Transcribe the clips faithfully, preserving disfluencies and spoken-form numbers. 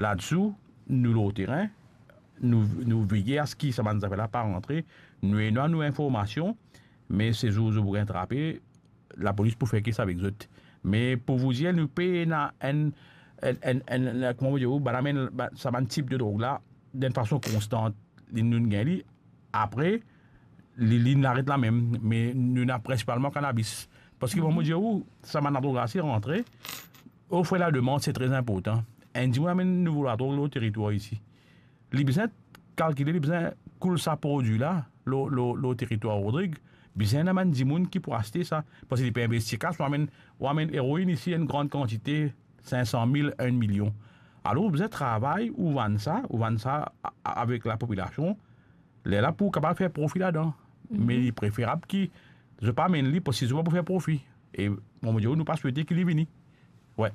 Ladsi, nou lor terin, nou, nou veye aski sa bann zafer la pa rantre, nou ena nou informasion, me se zour zot pou gagn trape, lapolis pou fer kes avek zot. Me pou vou dir, nou pena enn, enn, enn, enn, enn, kouma mo dir ou, bann amenn, ba-, sa bann tip de drog la, dan enn fason konstan, li, nou gagn li, apre, li, li aret lamem, me nou ena prinsipalman kanabis. Paski, bon, mo dir ou, sa bann ladrog la, si rantre, ofre la demann, se tre inportan. Enn dimoun amenn nouvo ladrog lor teritwar isi. Li bizin kalkile, li bizin koul sa prodwi la, lor, lor, lor teritwar Rodrig, bizin ena bann dimoun ki pou aste sa. Paski li pe investi kas, ou amenn, ou amenn eroin isi, enn gran kantite, sink san mil, enn milion. Alor, ou bizin travay, ou vann sa, ou vann sa a-, a-, avek lapopilasion, lerla pou kapav fer profi ladan. Me li preferab ki zot pa amenn li, paski zot pa pou fer profi. E, bon, mo dir ou, nou pa swete ki li vini. Wi.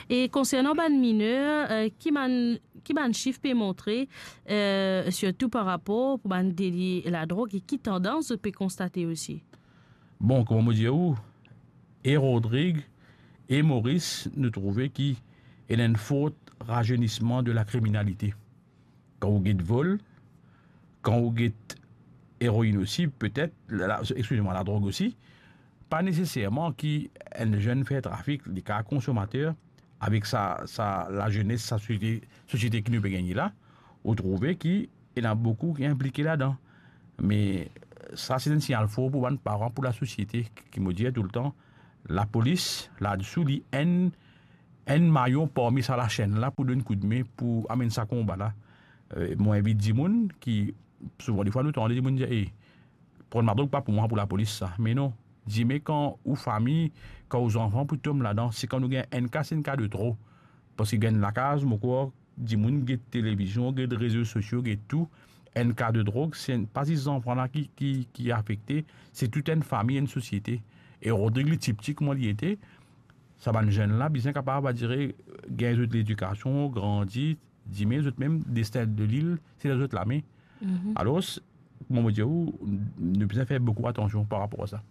E konsernan bann miner, eh, ki bann, ki bann sif pe montre, eh, sirtou par rapor pou bann deli ladrog, e ki tandans zot pe konstate osi? Bon, kouma mo dir ou, e Rodrig e Moris, nou trouve ki ena enn for razenisman de lakriminalite. Kan ou get vol, kan ou get eroin osi, petet, la, la, exkiz mwa, ladrog osi, pa neseserman ki enn zenn fer trafik, li kapav konsomater, avek sa, sa lazenes, sa sosiete, sosiete ki nou pe gagne la, ou trouve ki ena boukou ki inplike ladan. Me sa, se enn signal for pou bann paran, pou lasosiete, ki mo dir toultan, lapolis, ladsi, li enn, enn mayon parmi sa lasenn la pou donn koudme, pou amenn sa konba la. Eh, mo invit dimoun ki, souvan defwa nou tande dimoun dir, "Eh, pran ladrog pa pou mwa, pou lapolis sa." Me non, dime kan ou fami, kan ou zanfan pou tom ladan, si kan nou gagn enn ka, se enn ka de tro. Paski gagn lakaz, mo krwar, dimoun get televizion, get rezo sosio, get tou. Enn ka de drog, se enn, pa zis zanfan la ki, ki, ki afekte, se tou enn fami, enn sosiete. E Rodrig li tipti kouma li ete, sa bann zenn la bizin kapav, va dire, gagn zot ledikasion, grandi, dime zot mem destin de lil, se dan zot lame. Alor, mo, mo dir ou, nou bizin fer boukou atansion par rapor a sa.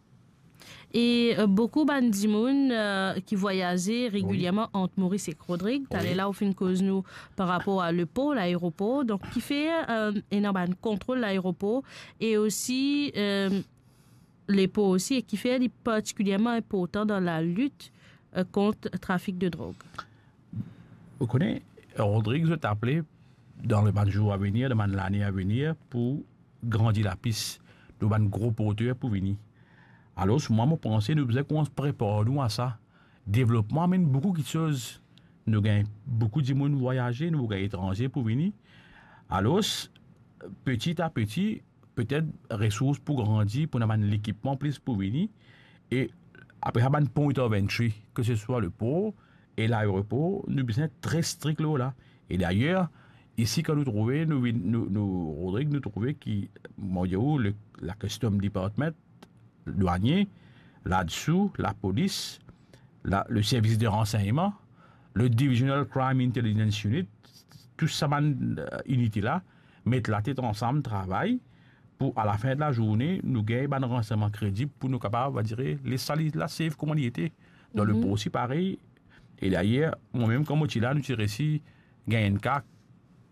E, eh, boukou bann dimoun, eh, ki vwayaze regilierman ant Moris ek Rodrig. Taler la, ou finn koz nou par rapor a lepor, laeropor. Donk, kifer, eh, ena bann kontrol laeropor e osi, eh, lepor osi, e kifer li partikilierman inportan dan lalit, eh, kont trafik de drog? Ou kone, Rodrig, zot apele dan le bann zour avenir, dan bann lane avenir, pou grandi lapis, nou bann gro porter pou vini. Alor, mwa, mo panse nou bizin koumans prepar nou a sa. Devlopman amenn boukou kiksoz. Nou gagn boukou dimoun vwayaze, nou gagn etranze pou vini. Alor, peti a peti, petet resours pou grandi, pou ena bann lekipman plis pou vini. E apre sa, bann point of entry, ke se swa lepor e laeropor, nou bizin tre strik lor la. E dayer, isi, kan nou trouve, nou vinn, nou, nou, Rodrig, nou trouve ki, mo dir ou, le, la Custom Department, dwanye, ladsi, lapolis, la, le service de renseignement, le Divisional Crime Intelligence Unit, tou sa bann, eh, inite la, met latet ansam, travay, pou, a la fin de la zourne, nou gagn bann ransegnman kredib pou nou kapav, va dire, les sa li la safe kouma li ete. Dan lepor osi parey. E dayer, mwa mem, kan mo ti la, nou ti resi gagn enn ka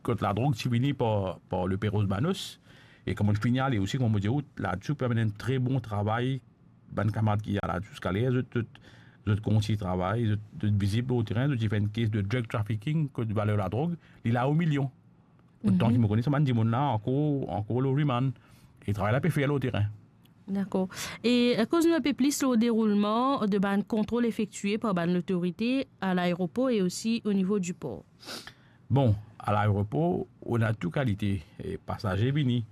kot ladrog ti vini par, par le Perros Banhos. E kan mo fini ale osi, kouma mo dir ou, ladsi pe amenn enn tre bon travay, bann kamarad ki la ziska ler, zot, zot, zot kontign travay, zot, zot vizib lor terin, zot ti fer enn kes de drug trafficking, kot valer ladrog, li la o milion. Otan ki mo kone, sa bann dimoun la ankor, ankor lor remand. E travay la pe fer lor terin. Dakor. E, eh, koz nou enpe plis lor deroulman de bann kontrol efektie par bann lotorite a laeropor e osi o nivo di por. Bon, a laeropor, nou ena tou kalite, eh, pasaze vini.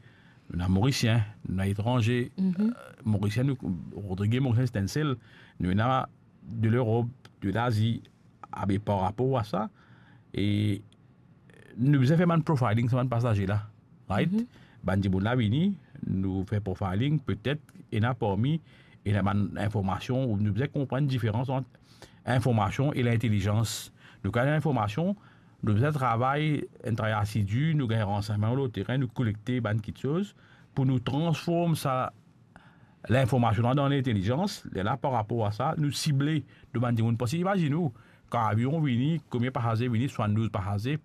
Nou ena Morisien, nou ena etranze. Eh, Morisien, nou, Rodrig e Morisien, se enn sel. Nou ena de Lerop, de Lazi, abe par rapor a sa, e nou bizin fer bann profiling sa bann pasaze la, right? Bann dimoun la vini, nou fer profiling, petet ena parmi, ena bann informasion, nou bizin konprann diferans ant informasion e lintelizans. Nou, kan ena informasion, nou bizin travay, enn travay asidi, nou gagn ransegnman lor terin, nou kolekte bann kiksoz, pou nou transform sa linformasion la dan lintelizans, lerla par rapor a sa, nou sible nou bann dimoun. Paski imazinn ou, kan avion vini, konbien pasaze vini, swasanndouz pasaze,